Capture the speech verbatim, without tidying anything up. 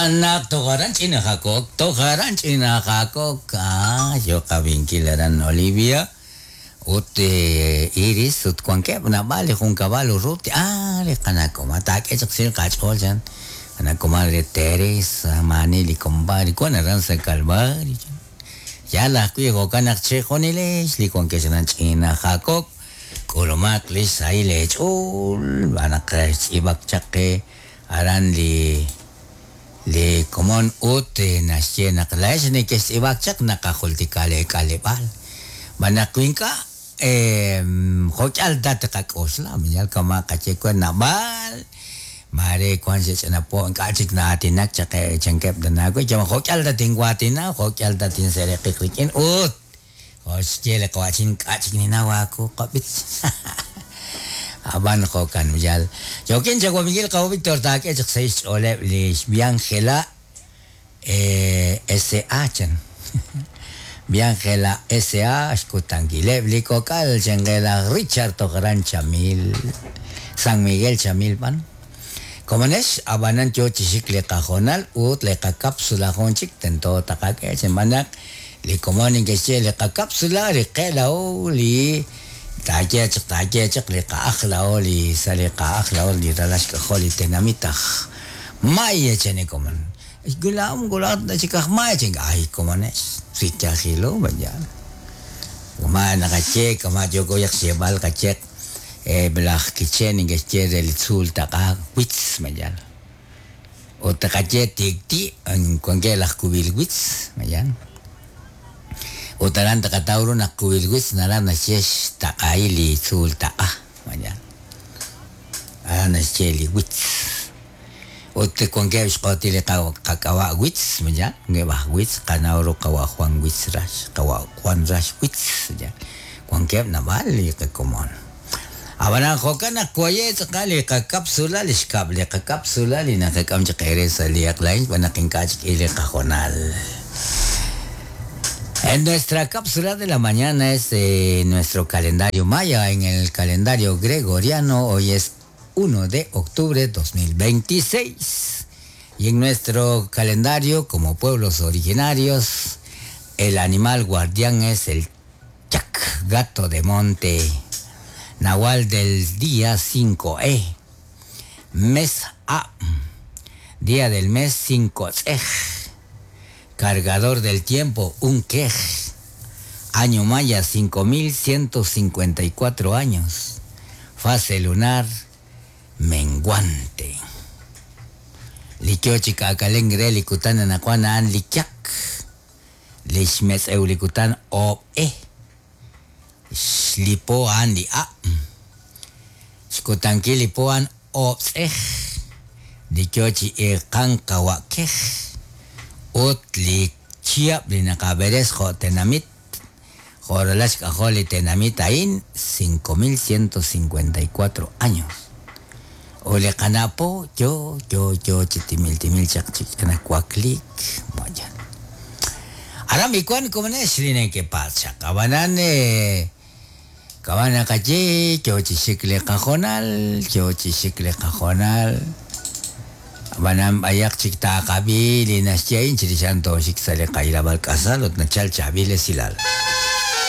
Naq tojaran ch'ina Jacob, tojaran ch'ina Jacob, ah, yo qavinkil aran Olivia, ut Iris, ut wankeb' naab'al li junkab'al Urrutia, ah, li qanakoma, taak'e chaq sil qach'ool chan, qanakoma re Teresa, maani li compadre, wan aran sa' Calvario, yal ajwi' jo'kan naq chejunilex li wankex aran ch'ina Jacob, k'ulumaq li sahil eech'ool, b'anaq xtz'iib'ak chaq qe aran li li komon ut naxye naq laex nekextz'iib'ak chaq naqajultika leek'aleb'aal. B'anaq ink'a' jo'k'al ta tqak'oxla, yal kama' qaye wan naab'al, mare wan xech'anapo' ink'a' chik na'aatinak chaq chankeb' tanawe, yama jo'k'al ta tinwaatina, jo'k'al ta tinsereqiq rik'in ut jo'xye li qawa'chin ink'a' chik ninaw aawu qab'ich. Aban jo'kan yal. Yokin chawab'inkil qawa Víctor taak'e chaq sa' xch'ooleb' li Biangela S A chan. Biangela S A xkutankileb' li kok'al chengela Richard Tojaran Chamil, San Miguel Chamil pan. Komonex abanan yo chixik li qajonal ut li qakapsula jun chik tento taqak'e chenb'anaq li komon inkexye li qakapsula li qelao li taye chaq taye chaq li qa'ajlao li sa li qa'ajlao li ralax k'ajol li tenamitaj maya chane komon gulam gulat na chikaj maya ching ay komonex sichajilo bayan kuma nakache kama yoko yak xebal kachek eh blaj kichen inkexye del tzul taqa witz mayan o taqache tikti en cuanque laj kubil witz mayan Utaran taqatawru naq kubilwitz naran naxyex taq'ay li tzuul taq'a mayan aran naxye li witz ut wankeb' xq'otil li qak'ab'a' witz mayan ngeb'aj witz qanawru qawa' Juan Witz Rax qawa' Juan Rax Witz mayan wankeb' naab'al li qakomon ab'anan jo'kan naq waye tz'aqal li qakapsula li xkab' li qakapsula li naqak'am chaq eere sa' li aqlain xb'aan naq ink'a' chik li qajonal. En nuestra cápsula de la mañana es eh, nuestro calendario maya. En el calendario gregoriano hoy es uno de octubre de dos mil veintiséis. Y en nuestro calendario como pueblos originarios, el animal guardián es el chac, gato de monte, nahual del día cinco E, mes A, día del mes cinco C. Cargador del tiempo, un quej. Año maya, cinco mil ciento cincuenta y cuatro años. Fase lunar, menguante. Likiochi kakalengre likutan anakuana an likyak. Lishmetz eulikutan o e. Shlipo an li a. Shkutanki lipo an o ej. Likiochi ekan kawakej. Ut li chiab li naqaberes jo tenamit jorolax k'ajol li tenamit ain cinco mil ciento cincuenta y cuatro años. O le qanapo yo yo yo chitimil timil chaq chik kuaklik vayan. Ahora mi kuan komonex li ne que pasa kabanan eh kabana kachi yo chixik li qajonal yo chixik li qajonal Banam ayak chik taqabi li naxyein chirishanto xik sale qailabal kasal ut nachal chabile silal.